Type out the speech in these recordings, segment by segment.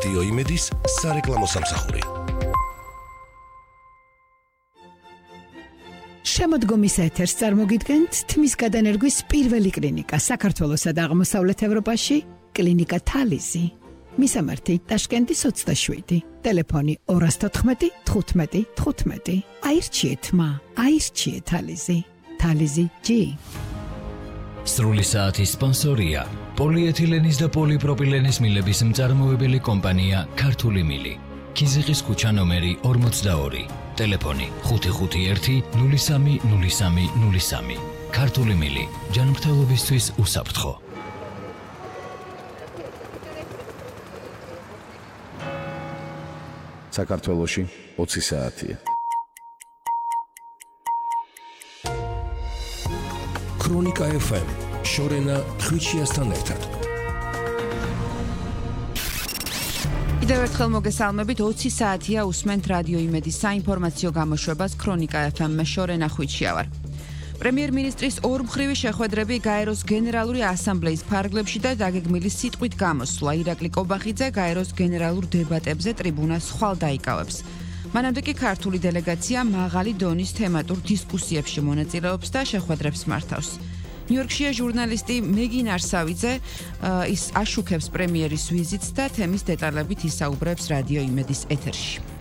რადიო იმედის სარეკლამო სამსახური. შემოდგომის ეთერს წარმოგიდგენთ თმის გადანერგვის პირველი კლინიკა საქართველოსა და აღმოსავლეთ ევროპაში, კლინიკა თალიზი. მისამართი ტაშკენტის 27, ტელეფონი 214 15 15. აირჩიეთ მა, აირჩიეთ თალიზი. თალიზი G. სრული საათის სპონსორია პოლიეთილენის და პოლიპროპილენის მილების მწარმოებელი კომპანია ქართული მილი. ქიზიყის ქუჩა ნომერი 42, ტელეფონი 551 03 03 03. ქართული მილი, ჯანმრთელობისთვის უსაფრთხო. საქართველოში 20 საათია. ქრონიკა FM შორენა ხვიჩიასთან ერთად. კიდევ ერთხელ მოგესალმებით, 20 საათია უსმენთ რადიო იმედის საინფორმაციო გამოშვებას ქრონიკა FM-მე შორენა ხვიჩია ვარ. პრემიერ-მინისტრის ორმხრივი შეხვედრები გაეროს გენერალური ასამბლეის ფარგლებში და დაგეგმილი სიტყვით გამოსვლა. ირაკლი კობახიძე გაეროს გენერალურ დებატებზე ტრიბუნას ხვალ დაიკავებს. მანამდე კი ქართული დელეგაცია მაღალი დონის თემატურ დისკუსიებში მონაწილეობს და შეხვედრებს მართავს. ნიუ-იორკშია ჟურნალისტი მეგინ არსავიძე ის აშუქებს პრემიერის ვიზიტს და თემის დეტალებით ისაუბრებს რადიო იმედის ეთერში.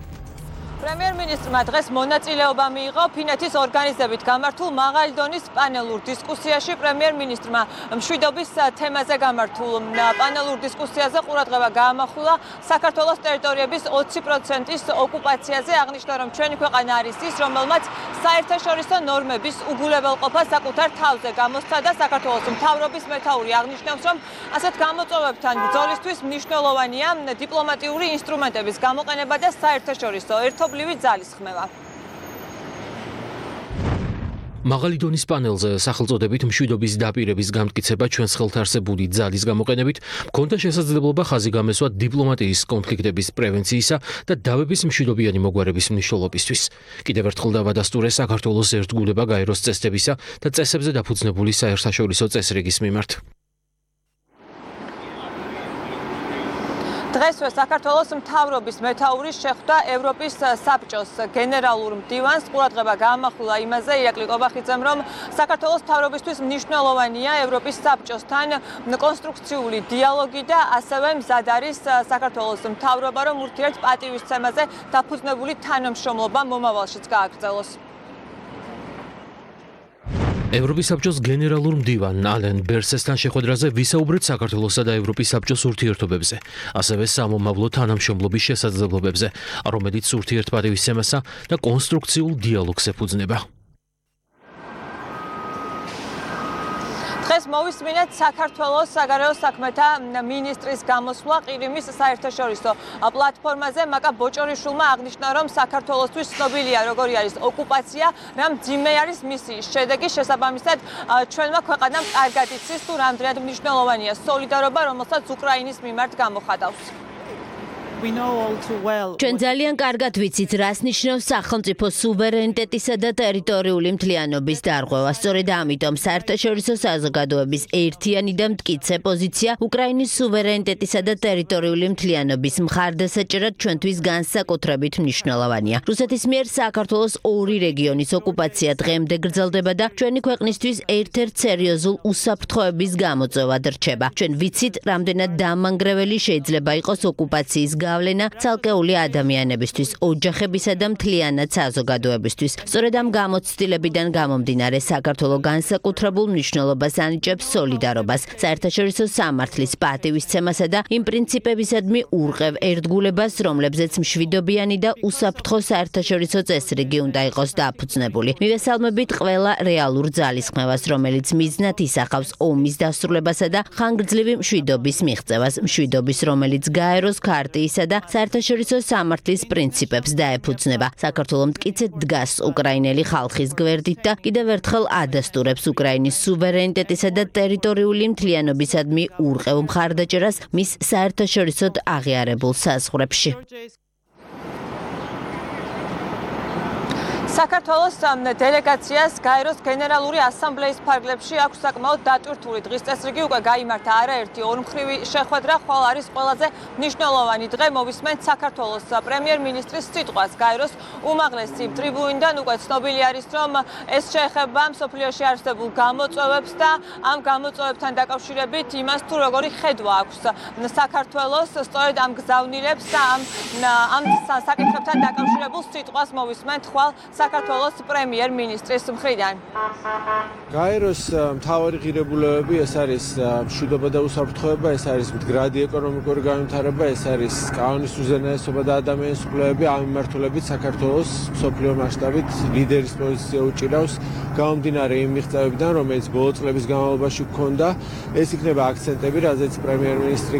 პრემიერ-მინისტრმა დღეს მონაწილეობა მიიღო ფინეთის ორგანიზებით გამართულ მაღალი დონის პანელურ დისკუსიაში. პრემიერ-მინისტრმა მშვიდობის თემაზე გამართულ პანელურ დისკუსიაზე ყურადღება გაამახვილა საქართველოს ტერიტორიების 20%-ის ოკუპაციაზე. აღნიშნა, რომ ჩვენი ქვეყანა არის ის, რომელმაც საერთაშორისო ნორმების უგულებელყოფა საკუთარ თავზე გამოსცა და საქართველოს მთავრობის მეთაური აღნიშნავს, რომ ასეთ გამოწვევებთან ბრძოლისთვის მნიშვნელოვანია დიპლომატიური ინსტრუმენტების გამოყენება და საერთაშორისო ერთობლივი ძალისხმევა. მაღალი დონის პანელზე სახელწოდებით მშვიდობის დაპირების გამტკიცება ჩვენს ხელთ არსებული ძალის გამოყენებით მქონდა შესაძლებლობა ხაზი გამესვა დიპლომატიის კონფლიქტების პრევენციისა და დავების მშვიდობიანი მოგვარების მნიშვნელობისთვის. კიდევ ერთხელ დავადასტურე საქართველოს ერთგულება გაეროს წესდებისა და წესებზე დაფუძნებული საერთაშორისო წესრიგის მიმართ. დღესვე საქართველოს მთავრობის მეთაური შეხვდა ევროპის საბჭოს გენერალურ მდივანს. ყურადღება გაამახვილა იმაზე ირაკლი კობახიძემ, რომ საქართველოს მთავრობისთვის მნიშვნელოვანია ევროპის საბჭოსთან კონსტრუქციული დიალოგი და ასევე მზად არის საქართველოს მთავრობა, რომ ურთიერთპატივისცემაზე დაფუძნებული თანამშრომლობა მომავალშიც გააგრძელოს. ევროპის საბჭოს გენერალურ მდივან ალენ ბერსესთან შეხვედრაზე ვისაუბრეთ საქართველოსა და ევროპის საბჭოს ურთიერთობებზე, ასევე სამომავლო თანამშრომლობის შესაძლებლობებზე, რომელიც ურთიერთპატივისცემასა და კონსტრუქციულ დიალოგს ეფუძნება. დღეს მოვისმინეთ საქართველოს საგარეო საქმეთა მინისტრის გამოსვლა ყირიმის საერთაშორისო პლატფორმაზე. მაკა ბოჭორიშვილმა აღნიშნა, რომ საქართველოსთვის ცნობილია როგორი არის ოკუპაცია, რა მძიმე არის მისი შედეგი. შესაბამისად, ჩვენმა ქვეყანამ კარგად იცის თუ რამდენად მნიშვნელოვანია სოლიდარობა, რომელსაც უკრაინის მიმართ გამოხატავს. ჩვენ ძალიან კარგად ვიცით, რას ნიშნავს სახელმწიფო სუვერენიტეტისა და ტერიტორიული მთლიანობის დარღვევა. სწორედ ამიტომ საერთაშორისო საზოგადოების ერთიანი და მტკიცე პოზიცია უკრაინის სუვერენიტეტისა და ტერიტორიული მთლიანობის მხარდასაჭერად ჩვენთვის განსაკუთრებით მნიშვნელოვანია. რუსეთის მიერ საქართველოს ორი რეგიონის ოკუპაცია დღემდე გრძელდება და ჩვენი ქვეყნისთვის ერთ-ერთ სერიოზულ უსაფრთხოების გამოწვევად რჩება. ჩვენ ვიცით, რამდენად დამანგრეველი შეიძლება იყოს ოკუპაციის გავლენა ცალკეული ადამიანებისთვის, ოჯახებისა და მთლიანად საზოგადოებისთვის. სწორედ ამ გამოცდილებიდან გამომდინარე საქართველო განსაკუთრებულ მნიშვნელობას ანიჭებს სოლიდარობას, საერთაშორისო სამართლის პატივისცემასა და იმ პრინციპებისადმი ურყევ ერთგულებას, რომლებზეც მშვიდობიანი და უსაფრთხო საერთაშორისო წესრიგი უნდა იყოს დაფუძნებული. მივესალმებით ყველა რეალურ ძალისხმევას, რომელიც მიზნად ისახავს ომის დასრულებასა და ხანგრძლივი მშვიდობის მიღწევას, მშვიდობის, რომელიც გაეროს ქარტიის და საერთაშორისო სამართლის პრინციპებს დაეფუძნება. საქართველო მტკიცედ დგას უკრაინელი ხალხის გვერდით და კიდევ ერთხელ ადასტურებს უკრაინის სუვერენიტეტისა და ტერიტორიული მთლიანობისადმი ურყევ მხარდაჭერას მის საერთაშორისოდ აღიარებულ საზღვრებში. საქართველოს დელეგაციას გაეროს გენერალური ასამბლეის ფარგლებში აქვს საკმაოდ დატვირთული დღის წესრიგი უკვე გაიმართა არაერთი ორმხრივი შეხვედრა, ხოლო არის ყველაზე მნიშვნელოვანი დღე მოვისმენთ საქართველოს პრემიერ-მინისტრის სიტყვას გაეროს უმაღლესი ტრიბუნიდან უკვე ცნობილი არის რომ ეს შეეხება მსოფლიოში არსებულ გამოწვევებს და ამ გამოწვევებთან დაკავშირებით იმას თუ როგორი ხედვა აქვს საქართველოს სწორედ ამ გზავნილებს და ამ საკითხებთან დაკავშირებულ სიტყვას მოვისმენთ ხვალ საქართველოს პრემიერ-მინისტრის მხრიდან. გაეროს მთავარი ღირებულებები ეს არის მშვიდობა და უსაფრთხოება, ეს არის მდგრადი ეკონომიკური განვითარება, ეს არის კანონის უზენაესობა და ადამიანის უფლებები. ამ მიმართულებით საქართველოს მსოფლიო მასშტაბით ლიდერის პოზიცია უჭირავს გამომდინარე იმ მიღწევებიდან, რომელიც ბოლო წლების განმავლობაში ჰქონდა. ეს იქნება აქცენტები, რაზეც პრემიერ-მინისტრი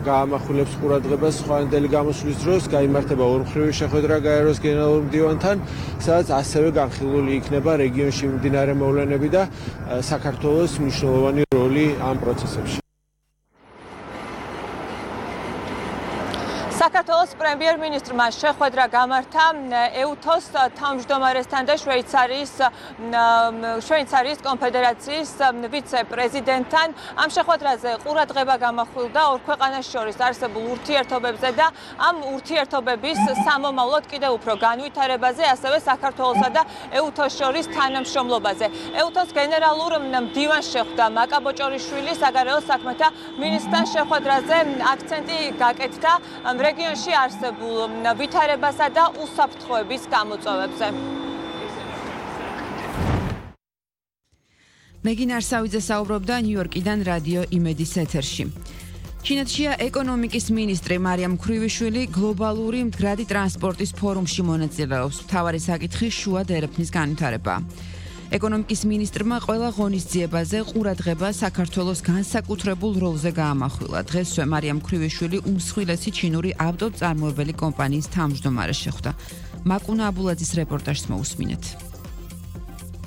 გაამახვილებს ყურადღებას ხვანდელი გამოსვლის დროს, გაიმართება ორმხრივი შეხვედრა გაეროს გენერალურ მდივანთან, სადაც ასევე განხილული იქნება რეგიონში მიმდინარე მოვლენები და საქართველოს მნიშვნელოვანი როლი ამ პროცესებში. საქართველოს პრემიერ-მინისტრმა შეხვედრა გამართა EUTOS თავმჯდომარესთან და შვეიცარიის კონფედერაციის ვიცე-პრეზიდენტთან. ამ შეხვედრაზე ყურადღება გამახვილდა ორ ქვეყანას შორის არსებულ ურთიერთობებზე და ამ ურთიერთობების სამომავლოდ კიდევ უფრო განვითარებაზე, ასევე საქართველოსა და EUTOS შორის თანამშრომლობაზე. EUTOS გენერალურ მდივანს შეხვდა მაკაბოჭორიშვილი, საგარეო საქმეთა მინისტრთან შეხვედრაზე აქცენტი გაკეთდა რეგიონში არსებულ ვითარებასა და უსაფრთხოების გამოწვევებზე. მეგინ არსავიძე საუბრობდა ნიუ-იორკიდან რადიო იმედის ეთერში. ჩინეთშია ეკონომიკის მინისტრი მარიამ ქრივიშვილი გლობალური მდგრადი ტრანსპორტის ფორუმში მონაწილეობს. მთავარი საკითხი შუა დერეფნის განვითარება. ეკონომიკის მინისტრმა ყველა ღონისძიებაზე ყურადღება საქართველოს განსაკუთრებულ როლზე გაამახვილა. დღესვე მარიამ ქრივიშვილი უმსხვილესი ჩინური ავტომწარმოებელი კომპანიის თავმჯდომარე შეხვდა. მაკუნა აბულაძის რეპორტაჟს მოусმინეთ.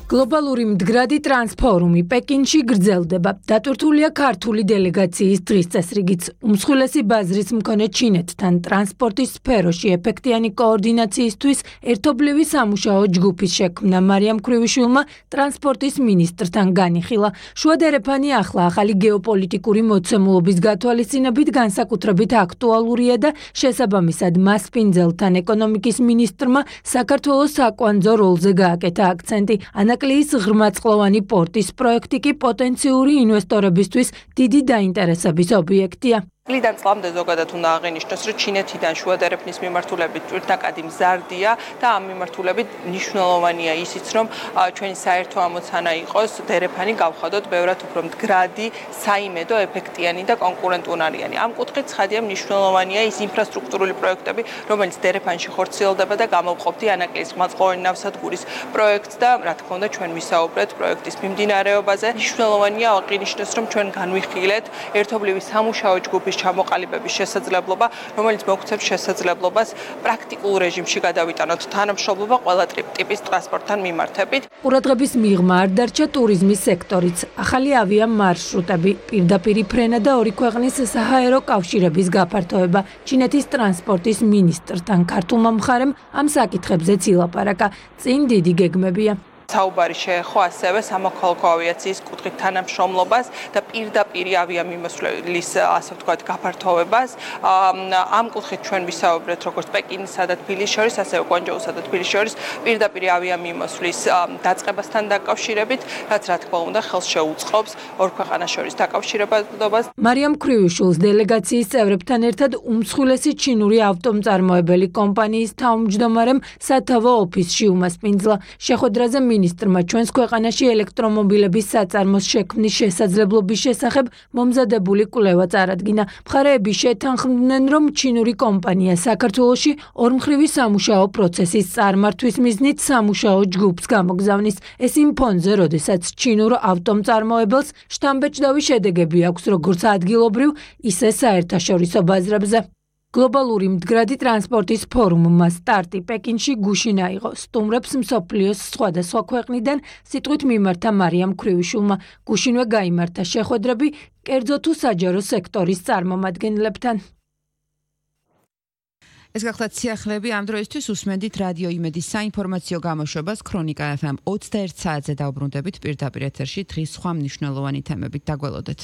გლობალური მდგრადი ტრანსფორუმი პეკინში გრძელდება. დატვირთულია ქართული დელეგაციის დღის წესრიგიც. უმსხვილესი ბაზრის მქონე ჩინეთთან ტრანსპორტის სფეროში ეფექტიანი კოორდინაციისთვის ერთობლივი სამუშაო ჯგუფის შექმნა მარიამ ქრივიშვილმა ტრანსპორტის მინისტრთან განიხილა. შუადერეფანი ახალი გეოპოლიტიკური მოცემულობის გათვალისწინებით განსაკუთრებით აქტუალურია და შესაბამისად მასპინძელთან ეკონომიკის მინისტრმა საქართველოს საკვანძო როლზე გააკეთა აქცენტი. ანაკლიის ღრმაწყლოვანი პორტის პროექტი კი პოტენციური ინვესტორებისთვის დიდი დაინტერესების ობიექტია. წლიდან წლამდე ზოგადად უნდა აღინიშნოს, რომ ჩინეთიდან შუადერეფნის მიმართულებით ტვირთნაკადი მზარდია და ამ მიმართულებით მნიშვნელოვანია ისიც, რომ ჩვენი საერთო ამოცანა იყოს დერეფანი გავხადოთ ბევრად უფრო მდგრადი, საიმედო, ეფექტიანი და კონკურენტუნარიანი. ამ კუთხით ცხადია მნიშვნელოვანია ის ინფრასტრუქტურული პროექტები, რომელიც დერეფანში ხორციელდება და გამოვყოფდი ანაკლის ღრმაწყლოვანი ნავსადგურის პროექტს და რა თქმა უნდა ჩვენ ვისაუბრეთ პროექტის მიმდინარეობაზე. მნიშვნელოვანია აღინიშნოს, რომ ჩვენ განვიხილეთ ერთობლივი სამუშაო ჯგუფის ჩამოყალიბების შესაძლებლობა, რომელიც მოგვცემს შესაძლებლობას პრაქტიკულ რეჟიმში გადავიტანოთ თანამშრომლობა ყველა ტიპის ტრანსპორტთან მიმართებით. ყურადღების მიღმა არ დარჩა ტურიზმის სექტორიც. ახალი ავიამარშრუტები, პირდაპირი ფრენა და ორი ქვეყნის საჰაერო კავშირების გაფართოება. ჩინეთის ტრანსპორტის მინისტრთან ქართულმა მხარემ ამ საკითხებზეც ილაპარაკა. წინ დიდი გეგმებია. საუბარი შეეხო ასევე სამოქალაქო ავიაციის კუთხით თანამშრომლობას და პირდაპირ ავიამიმოსვლის, ასე ვთქვათ, გაფართოვებას. ამ კუთხით ჩვენ ვისაუბრეთ როგორც პეკინსა და თბილისის შორის, ასევე კვანჯოუსა და თბილისის შორის პირდაპირ ავიამიმოსვლის დაწყებასთან დაკავშირებით, რაც რა თქმა უნდა ხელს შეუწყობს ორ ქვეყანას შორის დაკავშირებას. მარიამ ქრივიშვილს დელეგაციის წევრებთან ერთად უმსხვილესი ჩინური ავტომწარმოებელი კომპანიის თავმჯდომარემ სათავო ოფისში უმასპინძლა. შეხვედრაზე მინისტრმა ჩვენს ქვეყანაში ელექტრომობილების საწარმოს შექმნის შესაძლებლობის შესახებ მომზადებული კვლევა წარადგინა. მხარეები შეთანხმდნენ, რომ ჩინური კომპანია საქართველოში ორმხრივი სამუშაო პროცესის წარმართვის მიზნით სამუშაო ჯგუფს გამოგზავნის. ეს იმ ფონზე, როდესაც ჩინურ ავტომწარმოებელს შთამბეჭდავი შედეგები აქვს როგორც ადგილობრივ, ისე საერთაშორისო ბაზრებზე. გლობალური მდგრადი ტრანსპორტის ფორუმმა სტარტი პეკინში გუშინ აიღო. სტუმრებს მსოფლიოს სხვადასხვა ქვეყნიდან სიტყვით მიმართა მარიამ ქრივიშვილმა. გუშინვე გაიმართა შეხვედრები კერძო თუ საჯარო სექტორის წარმომადგენლებთან. ეს გახლავთ სიახლეები ამ დროისთვის უსმენდით რადიო იმედის საინფორმაციო გამოშვებას ქრონიკა FM 21 საათზე დაუბრუნდებით პირდაპირ ეთერში დღის სხვა მნიშვნელოვანი თემებით. დაგველოდეთ.